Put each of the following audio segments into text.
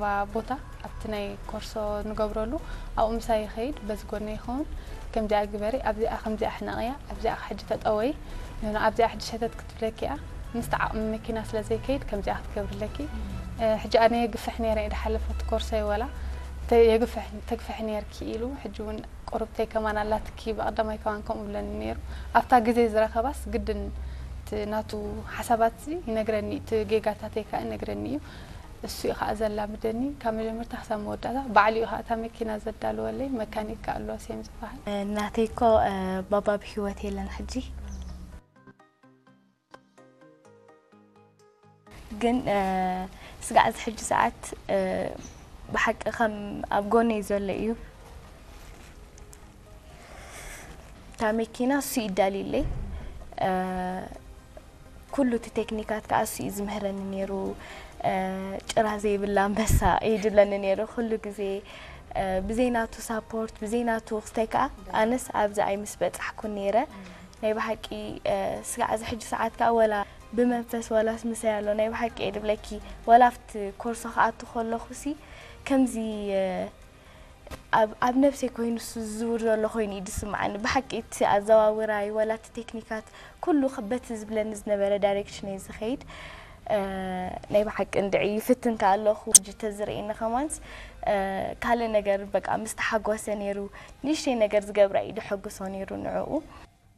ባ ቦታ ኣብቲ ናይ ኮርሶ ንገብረሉ ኣብኡ ምሳይ ይኸይድ፣ በዚ ጎነ ይኸውን። ከምዚኣ ግበሪ፣ ኣብዚኣ ከምዚኣ ሕነቕያ፣ ኣብዚኣ ሕጂ ተጠወይ፣ ንሆነ ኣብዚኣ ሕጂ ሸተት ክትብለኪ እያ። ምስቲ ዓቕሚ መኪና ስለ ዘይከይድ ከምዚኣ ክትገብርለኪ። ሕጂ ኣነ የግፍሕ ነይረ፣ ድሓለፈት ኮርሶ ይወላ የግፍሕ ተግፍሕ ነይርኪ ኢሉ። ሕጂ እውን ቁርብተይ ከማን ኣላትኪ፣ ብቐዳማይ ከማን ከምኡ ብለኒ ነይሩ። ኣብታ ግዜ ዝረኸባስ ግድን እቲ ናቱ ሓሳባት ይነግረኒ፣ እቲ ጌጋታተይ ከኣ ይነግረኒ እዩ። እሱ እዩ ከኣ ዘላምደኒ ካብ መጀመርታ ክሳብ መወዳእታ። ባዕሉ እዩ ከኣ እታ መኪና ዘዳልወለይ፣ መካኒክ ከኣ ኣለዎ ሴም ዝበሃል። ናተይ እኮ ባባ ብህይወት የለን ሕጂ። ግን ስጋዕ እዚ ሕጂ ሰዓት ብሓቂ ከም ኣብ ጎነይ ዘሎ እዩ። እታ መኪና እሱ ይዳልዩለይ። ኩሉ እቲ ቴክኒካት ከዓ እሱ እዩ ዝምህረኒ ነይሩ። ጭራ ዘይብላ ኣንበሳ እዩ ድብለኒ ነይሩ ኩሉ ግዜ። ብዘይናቱ ሳፖርት፣ ብዘይናቱ ክስታይ ከዓ ኣነስ ኣብዚ ኣይምስ በፃሕኩን ነይረ። ናይ ብሓቂ ስጋዕ እዚ ሕጂ ሰዓት ከዓ ወላ ብመንፈስ ወላስ ምሳይ ኣሎ። ናይ ብሓቂ እየ ድብለኪ፣ ወላ ኣብቲ ኮርሶ ክኣቱ ከለኹ ሲ ከምዚ ኣብ ነብሰይ ኮይኑ ዝዝውር ዘሎ ኮይኑ እዩ ዝስምዓኒ። ብሓቂ እቲ ኣዘዋውራይ ወላ እቲ ቴክኒካት ኩሉ በቲ ዝብለኒ ዝነበረ ዳይሬክሽን እየ ዝኸይድ። ናይ ብሓቂ እንድዒ ይፍትን ከኣ ኣለኹ። ሕጂ ተዝርእየኒ ከማንስ ካልእ ነገር በቃ ምስ ተሓጎሰ ነይሩ፣ ንእሽተይ ነገር ዝገብራ እዩ ደሐጉሶ ነይሩ ንዕኡ።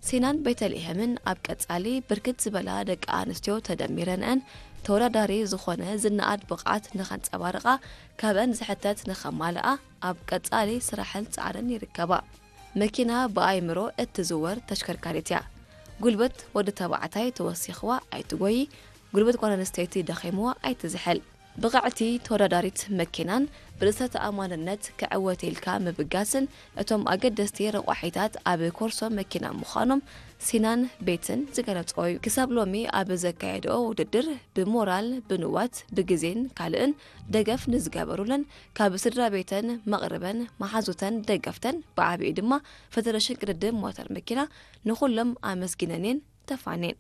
ሲናን ቤተልሔምን ኣብ ቀጻሊ ብርክት ዝበላ ደቂ ኣንስትዮ ተደሚረንአን ተወዳዳሪ ዝኾነ ዝነኣድ ብቕዓት ንኸንጸባርቓ ካብአን ዝሕተት ንኸማልኣ ኣብ ቀጻሊ ስራሕን ጻዕርን ይርከባ። መኪና ብኣይምሮ እትዝወር ተሽከርካሪት እያ። ጉልበት ወዲ ተባዕታይ ተወሲኽዋ ኣይትጎዪ፣ ጉልበት ጓል ኣንስተይቲ ደኺምዋ ኣይትዝሕል። ብቕዕቲ ተወዳዳሪት መኪናን ብርእሰ ተኣማንነት ክዕወት ኢልካ ምብጋስን እቶም ኣገደስቲ ረቋሒታት ኣብ ኮርሶ መኪና ምዃኖም ሲናን ቤትን ዝገለጽኦ እዩ። ክሳብ ሎሚ ኣብ ዘካየድኦ ውድድር ብሞራል፣ ብንዋት፣ ብግዜን ካልእን ደገፍ ንዝገበሩለን ካብ ስድራ ቤተን፣ መቕርበን፣ መሓዙተን፣ ደገፍተን ብዓቢኡ ድማ ፈደረሽን ቅድድም ሞተር መኪና ንኹሎም ኣመስጊነን እየን ተፋንየን።